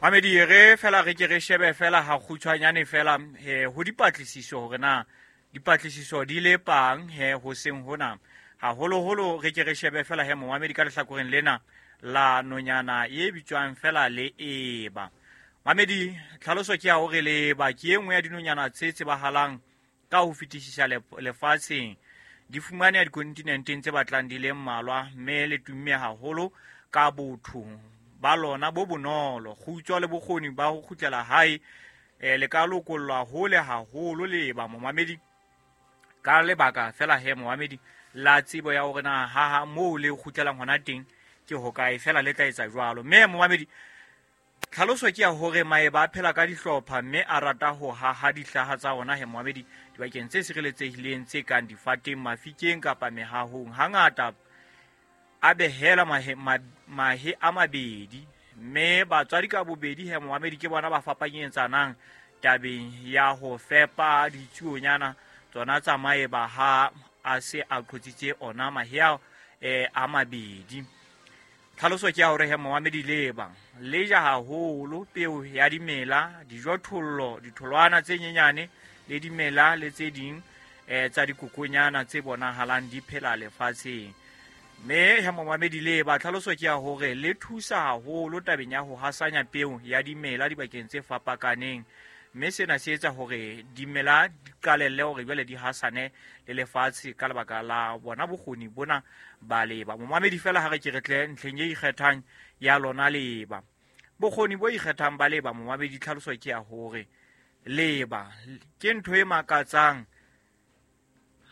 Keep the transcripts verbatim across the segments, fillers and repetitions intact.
Mamedi, re fela re ke re shebe fela ha kgutshwanyane fela eh, ho dipatlisiso hore na dipatlisiso di le pang he ho seng hona. Haholoholo re ke re shebe fela he momamedi ka lehlakoreng lena la nonyana e bitswang fela le eba. Mamedi, tlhaloso ke ya hore leeba ke e nngwe ya dinonyana tse tsebahalang ka ho fetisisa lefatsheng. Di fumaneha dikontinenteng tse batlang di le mmalwa, mme le tumme haholo ka botho ba lona bo bonolo, kgutso le bokgoni ba ho kgutlela hae. Eh, le ka lokollwa hole haholo leeba momamedi, ka lebaka fela he momamedi la tsebo ya hore na ha ha moo le kgutlelang hona teng ke hokae, fela le tla etsa jwalo. Mme momamedi, tlhaloso ke ya hore maeba a phela ka dihlopha mme a rata ho haha dihlaha tsa ona he momamedi dibakeng tse sireletsehileng tse kang difateng, mafikeng kapa mehahong. Hangata a behela mahe, ma, mahe a mabedi, mme batswadi ka bobedi he momamedi ke bona ba fapanyetsanang tabeng ya ho fepa ditsuonyana tsona tsa maeba ha a se a qhotsitse ona mahe ao eh, a mabedi. Tlhaloso ke ya hore he momamedi leeba le ja haholo peo ya dimela, dijothollo, ditholwana tse nyenyane le dimela le tse ding eh, tsa dikokonyana tse bonahalang di phela lefatsheng. Mme he momamedi leeba tlhaloso ke ya hore le thusa haholo tabeng ya ho hasanya peo ya dimela dibakeng tse fapakaneng, mme sena se etsa hore dimela di qalelle hore jwale di hasane le lefatshe ka lebaka la bona bokgoni bona ba leeba. Momamedi fela ha re ke re tle ntlheng e ikgethang ya lona leeba. Bokgoni bo ikgethang ba leeba momamedi, tlhaloso ke ya hore leeba ke ntho e makatsang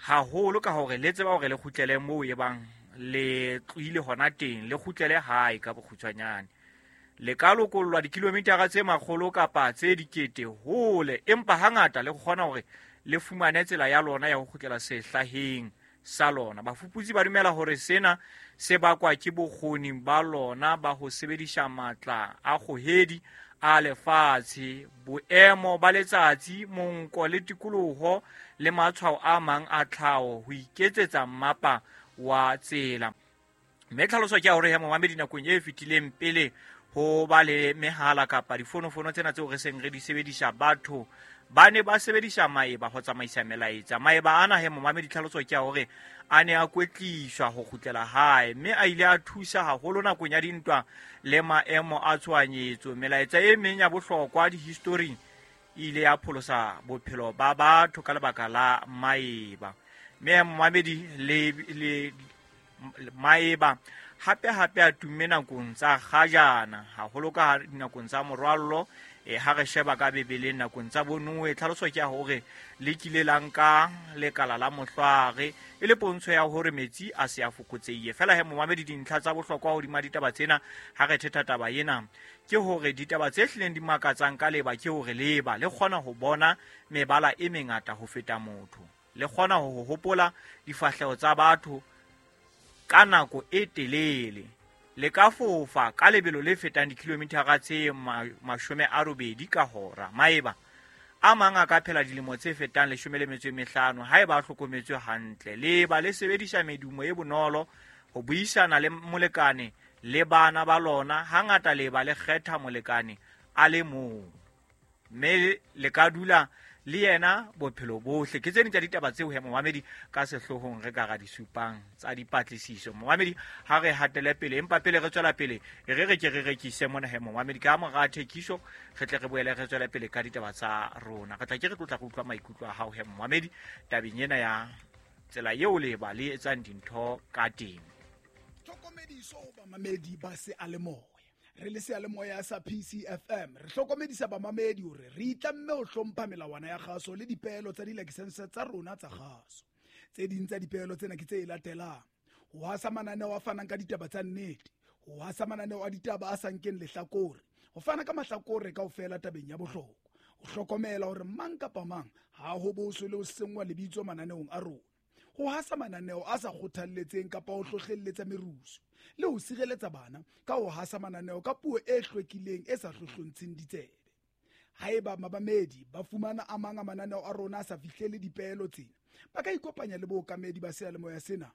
haholo ka hore le tseba hore le kgutlele moo e bang le tlohile hona teng, le kgutlele hae ka bokgutshwanyane. Le ka lokollwa dikilomitara tse makgolo kapa tse dikete hole, empa hangata le kgona hore le fumane tsela ya lona ya ho kgutlela sehlaheng sa lona. Bafuputsi ba dumela hore sena se bakwa ke bokgoni ba lona ba ho sebedisa matla a kgohedi a lefatshe, boemo ba letsatsi, monko le tikoloho le matshwao a mang a tlhaho ho iketsetsa mmapa wa tsela. Mme tlhaloso ke ya hore he momamedi nakong e fetileng pele ho ba le mehala kapa difonofono tsena tseo re seng re di sebedisa, batho ba ne ba sebedisa maeba ho tsamaisa melaetsa. Maeba ana he momamedi tlhaloso ke ya hore a ne a kwetliswa ho kgutlela hae, mme a ile a thusa haholo nakong ya dintwa le maemo a tshohanyetso. Melaetsa e meng ya bohlokwa dihistoring e ile ya pholosa bophelo ba batho ka lebaka la maeba. Mme momamedi le, le maeba hape hape a tumme nakong tsa kgajana, haholo ka dinakong tsa morwallo. E ha re sheba ka Bibeleng nakong tsa bonoe, tlhaloso ke ya hore le kile la nka lekala la mohlware e le pontsho ya hore metsi a se a fokotsehile. Fela he momamedi, dintlha tsa bohlokwa hodima ditaba tsena ha re thetha taba ena ke hore ditaba tse hlileng di makatsang ka leeba ke hore leeba le kgona ho bona mebala e mengata ho feta motho, le kgona ho hopola difahleho tsa batho ka nako e telele, le ka fofa ka lebelo le fetang dikilomitara tse mashome a robedi ka hora. Maeba a mang a ka phela dilemo tse fetang leshome le metso e mehlano haeba a hlokometswe hantle. Leeba le sebedisa medumo e bonolo ho buisana le molekane le bana ba lona. Hangata leeba le kgetha molekane a le mong, mme le ka dula le yena bophelo bohle. Ke tse ding tsa ditaba tseo he momamedi ka sehloohong re ka ra di supang tsa dipatlisiso. Momamedi, ha re hatele pele, empa pele re tswela pele re re ke re rekise mona he momamedi, ka mora thekiso re tle re boele re tswele pele ka ditaba tsa rona. Re tla ke re tlotla re utlwa maikutlo a hao he momamedi tabeng ena ya tsela eo leeba le etsang dintho ka teng. Tlhokomediso ho bamamedi ba seyalemoya. Re le seyalemoya sa P C F M re hlokomedisa bamamedi hore re itlamme ho hlompha melawana ya kgaso le dipeelo tsa dilakesense tsa rona tsa kgaso. Tse ding tsa dipeelo tsena ke tse latelang: ho hasa mananeo a fanang ka ditaba tsa nnete, ho hasa mananeo a ditaba a sa nkeng lehlakore, ho fana ka mahlakore kaofela tabeng ya bohlokwa, ho hlokomela hore mang kapa mang ha ho boswe le ho senngwa lebitso mananeong a rona, ho hasa mananeo a sa kgothalletseng kapa ho hlohlelletsa merusu, le ho sireletsa bana ka ho hasa mananeo ka puo e hlwekileng e sa hlohlontsheng ditsebe. Haeba mabamedi ba fumana a mang a mananeo a rona a sa fihlele dipeelo tsena, ba ka ikopanya le bookamedi ba seyalemoya sena.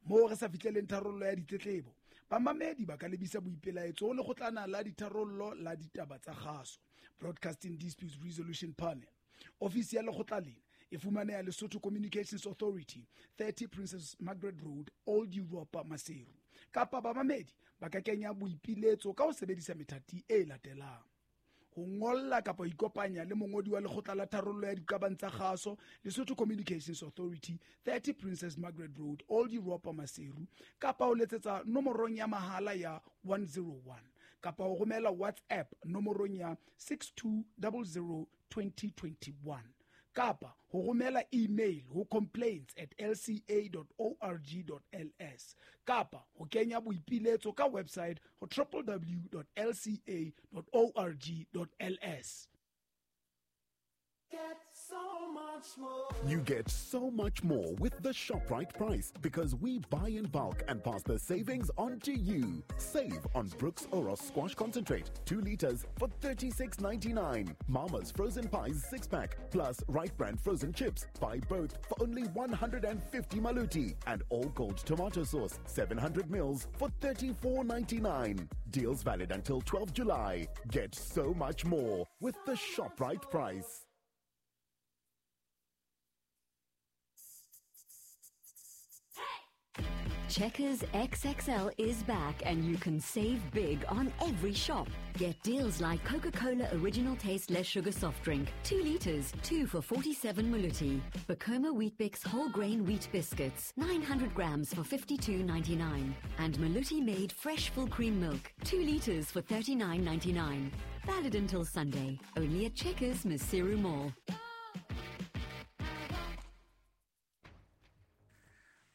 Moo re sa fihleleng tharollo ya ditletlebo, Bamamedi ba ka lebisa boipelaetso ho lekgotlana la ditharollo la ditaba tsa kgaso, Broadcasting Disputes Resolution Panel. Ofisi ya lekgotla lena e fumaneha Lesotho Communications Authority, thirty Princess Margaret Road, Old Europa, Maseru. Kapa bamamedi ba ka kenya boipiletso ka ho sebedisa methati e latelang: ho ngolla kapa ho ikopanya le mongodi wa lekgotla la tharollo ya diqabang tsa kgaso, Lesotho Communications Authority, thirty Princess Margaret Road, Old Europa, Maseru, kapa ho letsetsa nomorong ya mahala ya one zero one, kapa ho romela WhatsApp nomorong ya six two zero zero twenty twenty-one, kapa ho romela email ho complaints at l c a dot org dot l s, kapa ho kenya boipiletso ka website ho w w w dot l c a dot org dot l s. Get so much more. You get so much more with the ShopRite price because we buy in bulk and pass the savings on to you. Save on Brooks Oros Squash Concentrate, two liters for thirty-six ninety-nine. Mama's Frozen Pies six pack plus Right Brand Frozen Chips. Buy both for only one hundred and fifty maluti. And All Gold Tomato Sauce, seven hundred mils for thirty-four ninety-nine. Deals valid until twelve July. Get so much more with the ShopRite price. Checkers X X L is back and you can save big on every shop. Get deals like Coca-Cola Original Taste Less Sugar Soft Drink, two liters, two for forty-seven maluti. Bacoma Weet-Bix Whole Grain Wheat Biscuits, nine hundred grams for fifty-two ninety-nine. And Maluti Made Fresh Full Cream Milk, two liters for thirty-nine ninety-nine. Valid until Sunday, only at Checkers Maseru Mall.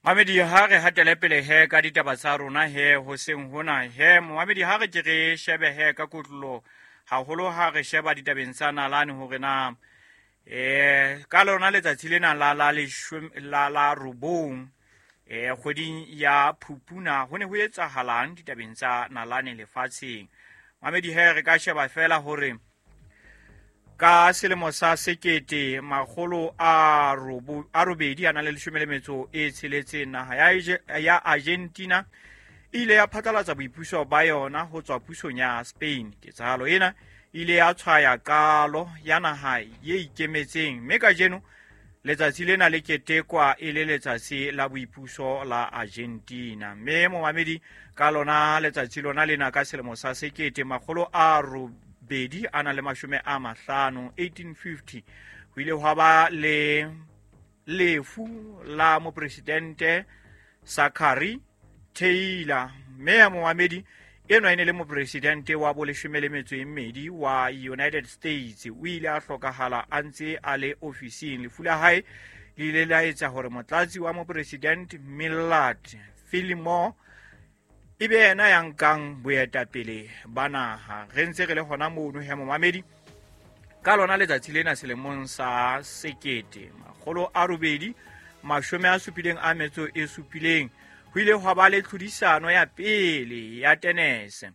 Mamedi ha re hatele pele he ka ditaba tsa rona he hoseng hona he Mamedi ha re ke re shebe he ka kotlolo haholo ha re sheba ditabeng tsa nalane hore na eh ka lona letsatsi lena la la la la robong eh kgweding ya Phupuna ho ne ho etsahalang ditabeng tsa nalane lefatsheng. Mamedi he re ka sheba fela hore ka selemo sa sekete makgolo a robo a robedi a na le leshome le metso e tsheletseng naha ya ya Argentina ile ya phatlalatsa boipuso ba yona ho tswa pusong ya Spain. Ketsahalo ena ile ya tshwaya qalo ya naha ye ikemetseng mme kajeno letsatsi lena le ketekwa e le letsatsi la boipuso la Argentina. Mme momamedi ka lona letsatsi lona lena ka selemo sa sekete makgolo a robedi bedi a na le mashome a mahlano eighteen fifty ho ile hwa ba le lefu la mopresidente Zachary Taylor. Mme ya momamedi enwa e ne le mopresidente wa boleshome le metso e mmedi wa United States. O ile a hlokahala a ntse a le ofising. Lefu la hae le ile la etsa hore motlatsi wa mopresidente Millard Fillmore ebe yena ya nkang boetapele ba naha. Re ntse re le hona mono he momamedi ka lona letsatsi lena selemong sa sekete makgolo a robedi mashome a supileng a metso e supileng ho ile hwa ba le tlhodisano ya pele ya tenese.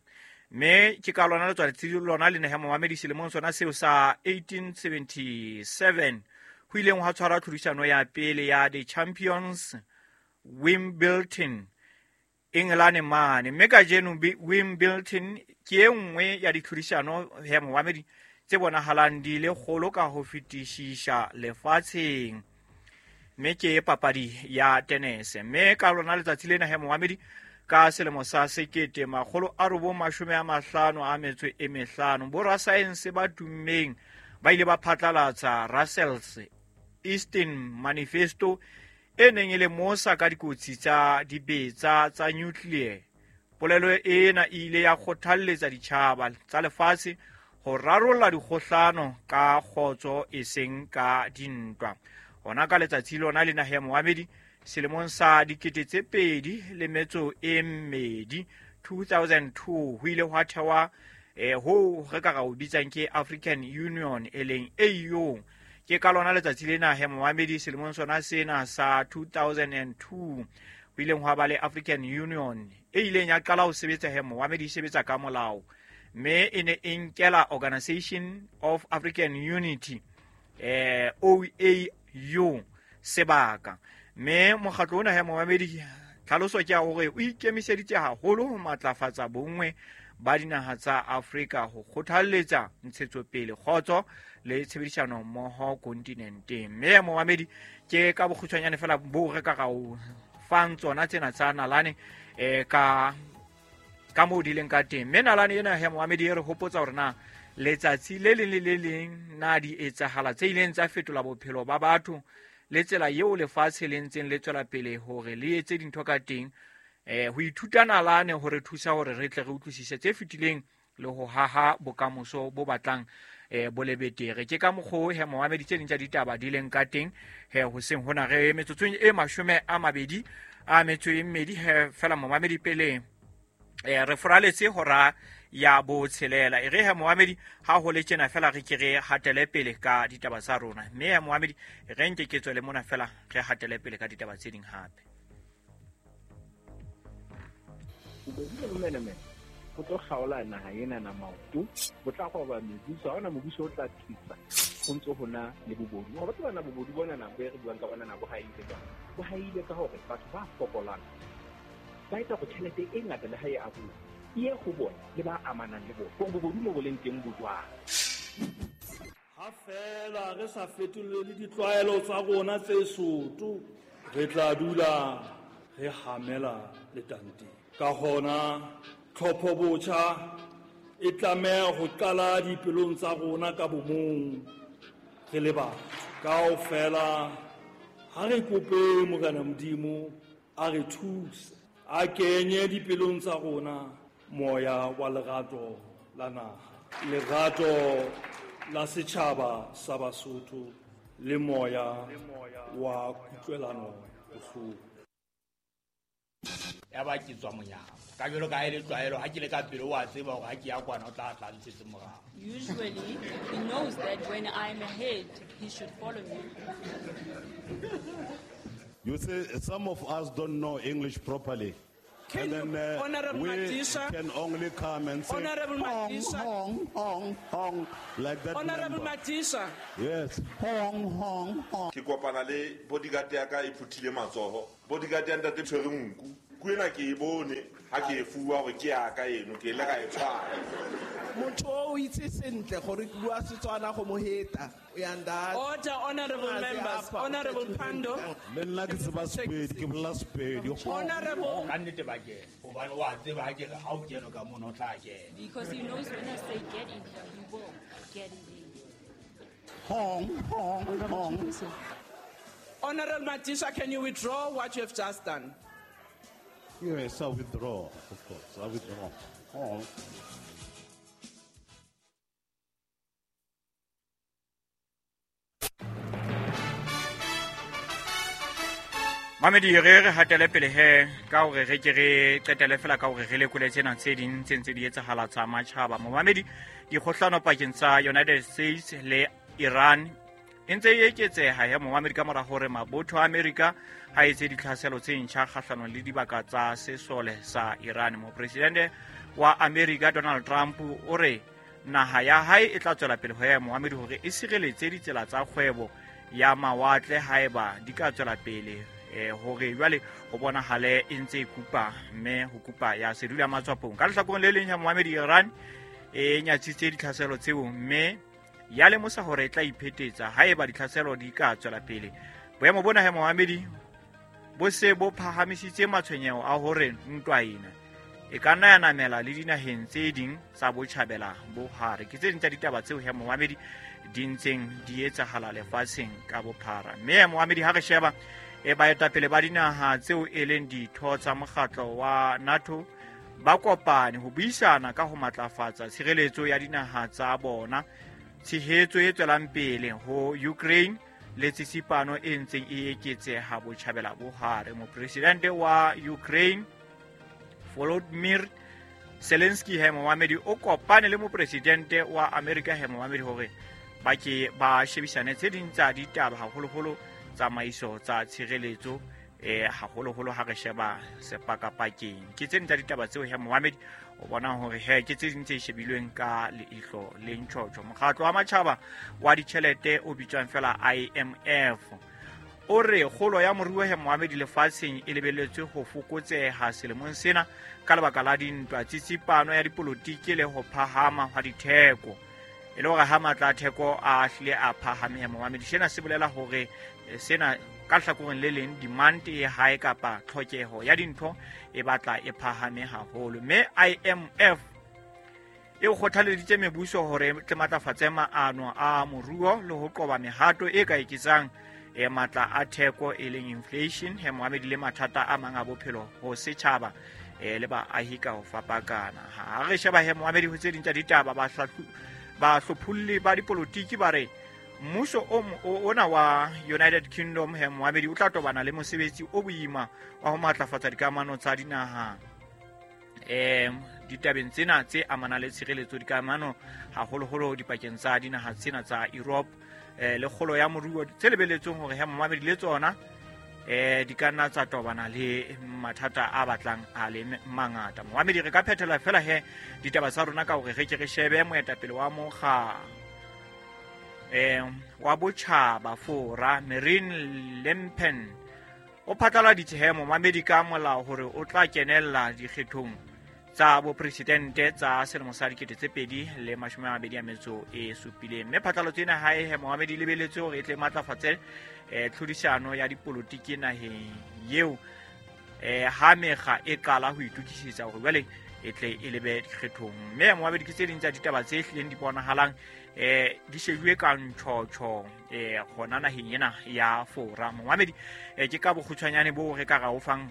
Mme ke ka lona letsatsi lona lena he momamedi selemong sona seo sa eighteen seventy-seven ho ileng hwa tshwarwa tlhodisano ya pele ya the Champions Wimbledon England mane. Mme kajeno Wimbledon ke e nngwe ya ditlhodisano ya momamedi tse bonahalang di le kgolo ka ho fetisisa lefatsheng. Mme ke papadi ya tenese. Mme ka lona letsatsi lena he momamedi ka selemo sa sekete makgolo a robong mashome a mahlano a metso e mehlano borasaense ba tummeng ba ile ba phatlalatsa Russell's Eastern Manifesto e neng e le mosa ka dikotsi tsa dibetsa tsa nuclear. Polelo ena e ile ya kgothalletsa ditjhaba tsa lefatshe ho rarolla dikgohlano ka kgotso e seng ka dintwa. Hona ka letsatsi lona lena he momamedi selemong sa dikete tse pedi le metso e mmedi two thousand two ho ile hwa thewa eh ho re ka ra o bitsang ke African Union e leng A U. Ke ka lona letsatsi lena he momamedi selemong sona sena sa two thousand two ho ileng hwa ba le African Union e ileng ya qala ho sebetsa he momamedi e sebetsa ka molao mme e ne e nkela Organization of African Unity eh O A U sebaka. Mme mokgatlo ona he momamedi Tlhaloso ke ya hore o ikemiseditse haholo ho matlafatsa bonngwe ba dinaha tsa Afrika ho kgothalletsa ntshetsopele, kgotso le tshebedisano mmoho kontinenteng. Mme momamedi ke ka bokgutshwanyane fela bo re ka ra o fang tsona tsena tsa nalane eh ka ka moo di leng ka teng. Mme nalane ena he momamedi e re hopotsa hore na letsatsi le leng le le leng na di etsahala tse ileng tsa fetola bophelo ba batho le tsela eo lefatshe le ntseng le tswela pele hore le etse dintho ka teng. Eh ho ithuta nalane hore thusa hore re tle re utlwisise tse fetileng le ho haha bokamoso bo batlang eh bo le betere. Ke ka mokgo he momamedi tse ding tsa ditaba di leng ka teng he hoseng hona re metsotsong e mashome a mabedi a metso e mmedi he fela momamedi pele eh re foraletse hora ya botshelela. E re he momamedi ha ho le tjena fela re ke re hatele pele ka ditaba tsa rona. Mme he momamedi re nke ke tswele mona fela re hatele pele ka ditaba tse ding hape. Bobedi le bomenemene go tlo kgaola naha ena na maoto, bo tla goba mebuso, ha hona mobuso o tla thusa go ntse ho na le bobodu. Wa batho bana bobodu bona na bo re buang ka bona na bo haile jwang? Bo haile ka hore batho ba fokolang ba etsa go tjhelete e ngata le ha e abuwa e ye go bona le ba amanang le bona. Gore bobodu mo bo leng teng bo jwang? Ha fela re sa fetolele ditlwaelo tsa rona tse soto, re tla dula re hamela letanteng. Ka hona tlhopho botjha e tlameha ho qala dipelong tsa rona ka bomong re le batho. Kaofela ha re kope Morena Modimo a re thuse, a kenye dipelong tsa rona moya wa lerato la naha, lerato la setjhaba sa Basotho le moya wa kutlwelano bohloko. Ya ba ke tswa monyako ka jalo ka e le tlwaelo ha ke le ka pele wa tseba hore ha ke ya kwana o tla tla ntshetse morao. Usually he knows that when I'm ahead he should follow me. You see, some of us don't know English properly. Can and then uh, Honorable we Matisha, can only come and say Honorable hong, Matisha, hong, hong, hong, like that. Honorable member. Matisha. Yes. Hong, hong, hong. Ke kopana le bodyguard ya ka e phuthile matsoho. Bodyguard ya ntate tshwere nku. Ku ena ke e bone ha ke e fuwa hore ke ya ka eno ke ile ka e tshwara. Motho o itse sentle gore ke bua Setswana go mo heta. Uyanda. Order, honorable members. Honorable Pando. Le nna ke tseba Sepedi, ke bolela Sepedi. Honorable. Ka nnete ba kena hobane wa tseba ha ke re ha o kena ka mono o tla kena. Because he knows when I say get in here, he will get in there. Hong, hong, hong. Honorable Matisha, can you withdraw what you have just done? Yes, I withdraw, of course. I withdraw. Oh. Mamedi re re hatele pele he ka hore re ke re qetele fela ka hore re lekole tsena tse ding tse ntse di etsahala tsa matjhaba. Momamedi dikgohlano pakeng tsa United States le Iran e ntse e eketseha he momamedi ka mora hore mabotho a Amerika ha etse ditlhaselo tse ntjha kgahlanong le dibaka tsa sesole sa Iran. Mopresidente wa Amerika Donald Trump o re naha ya hae e tla tswela pele ho ya momamedi hore e sireletse ditsela tsa kgwebo ya mawatle haeba di ka tswela pele eh hore jwale ho bonahale e ntse e kupa mme ho kupa ya sedula matswapong. Ka lehlakoreng le leng ya momamedi Iran e nyatsitse ditlhaselo tseo mme ya lemosa hore e tla iphetetsa haeba ditlhaselo di ka tswela pele. Boemo bona he momamedi bo se bo phahamisitse matshwenyeho a hore ntwa ena e ka nna ya namela le dinaheng tse ding tsa botjhabela bo hare. Ke tse ding tsa ditaba tseo he momamedi di ntseng di etsahala lefatsheng ka bophara. Mme momamedi ha re sheba e baetapele ba dinaha tseo e leng ditho tsa mokgatlo wa NATO ba kopane ho buisana ka ho matlafatsa tshireletso ya dinaha tsa bona, tshehetso e tswelang pele ho Ukraine le tsitsipano e ntseng e eketseha botjhabela bo hare. Mopresidente wa Ukraine Volodymyr Zelensky he momamedi o kopane le mopresidente wa Amerika he momamedi hore ba ke ba shebisane tse ding tsa ditaba haholoholo tsamaiso tsa tshireletso eh haholoholo ha re sheba sepakapakeng. Ke tse ding tsa ditaba tseo he momamedi o bona hore he ke tse ding tse shebilweng ka leihlo le ntjhotjho. Mokgatlo wa matjhaba wa ditjhelete o bitswang fela I M F O re kgolo ya moruo he moamedi lefatsheng e lebelletswe ho fokotseha selemong sena ka lebaka la dintwa, tsitsipano ya dipolotiki le ho phahama hwa ditheko. E le hore ha matla a theko a hlile a phahame he moamedi, sena se bolela hore sena ka hlakoreng le leng demand e high kapa tlhokeho ya dintho e batla e phahame haholo. Mme I M F e kgothaleditse mebuso hore tle matlafatse maano a moruo le ho qoba mehato e ka eketsang e matla a theko e leng inflation he moamedi le mathata a mang a bophelo ho setjhaba e le baahi ka ho fapakana. Ha re sheba he moamedi ho tse ding tsa ditaba, ba bahlopholli ba dipolotiki ba re mmuso o ona wa United Kingdom he moamedi o tla tobana le mosebetsi o boima wa ho matlafatsa dikamano tsa dinaha em ditabeng tsena tse amanang le tshireletso dikamano haholoholo dipakeng tsa dinaha tsena tsa Europe eh le kgolo ya moruo tse lebeletsweng hore he moamedi le tsona eh di ka nna tsa tobana le mathata a batlang a le mangata. Moamedi re ka phethela fela he ditaba tsa rona ka hore re ke re shebe moetapele wa mokga eh wa botjhaba Fora Marine Le Pen o phatlaladitse he moamedi ka molao hore o tla kenella dikgethong tsa bopresidente tsa selemo sa dikete tse pedi le mashome a mabedi a metso e supileng. Mme phatlalatso ena hae he moamedi lebeletse hore e tle matlafatse eh tlhodisano ya dipolotiki naheng eo eh ha mekga e qala ho itokisetsa hore jwale e tle e lebe dikgethong. Mme moamedi ke tse ding tsa ditaba tse hlileng di bonahalang eh di shejuwe ka ntjhotjho eh hona naheng ena ya Fora. Moamedi eh ke ka bokgutshwanyane bo re ka ra o fang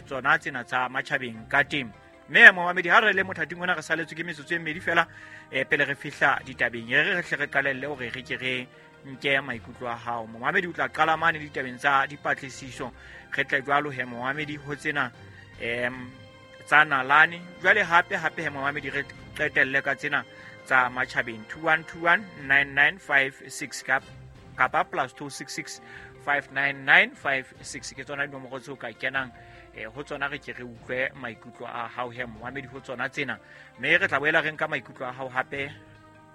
tsona tsena tsa matjhabeng ka teng. Mme moamedi ha re le mothating ona re saletswe ke metsotso e mmedi fela eh pele re fihla ditabeng, re re hle re qalelle hore re ke re nke maikutlo a hao. Moamedi o tla qala mane ditabeng tsa dipatlisiso, re tle jwalo he moamedi ho tsena em tsa nalane jwale hape hape he moamedi re qetelle ka tsena tsa matjhabeng two one two one nine nine five six kapa plus two six six five nine nine five six ke tsona dinomoro tseo ka kenang eh ho tsona re ke re utlwe maikutlo a hao he moamedi ho tsona tsena. Mme re tla boela re nka maikutlo a hao hape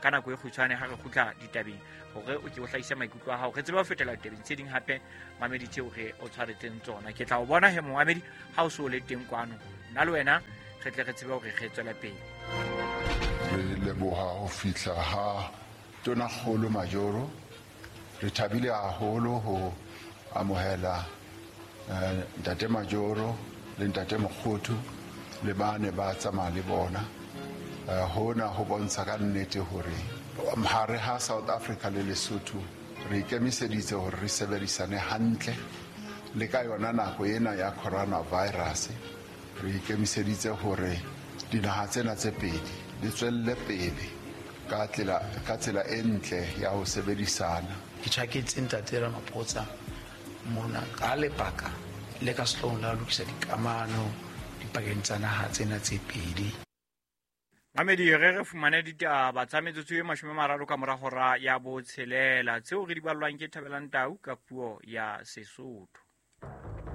ka nako e kgutshwane ha re kgutla ditabeng hore o ke o hlahise maikutlo a hao, re tsebe ho fetela ditabeng tse ding hape moamedi tseo re o tshwaretseng tsona. Ke tla o bona he moamedi ha o so le teng kwano, nna le wena re tle re tsebe hore re tswela pele. Re leboha ho fihla ha Tonakgolo Majoro. Re thabile haholo ho amohela ntate Majoro le ntate Mokgothu le bane ba tsamaya le bona. Hona ho bontsha ka nnete hore hare ha South Africa le Lesotho re ikemiseditse hore re sebedisane hantle le ka yona nako ena ya coronavirus. Re ikemiseditse hore dinaha tsena tse pedi di tswelle pele ka tsela ka tsela e ntle ya ho sebedisana. Ke tjhaketse ntate Ramaphosa mona ka lebaka le ka sehloohong la ho lokisa dikamano dipakeng tsa naha tsena tse pedi. Mamedi re re fumane ditaba tsa metsotso e mashome a mararo ka mora hora ya botshelela tseo re di ballwang ke Thabelang Tau ka puo ya Sesotho.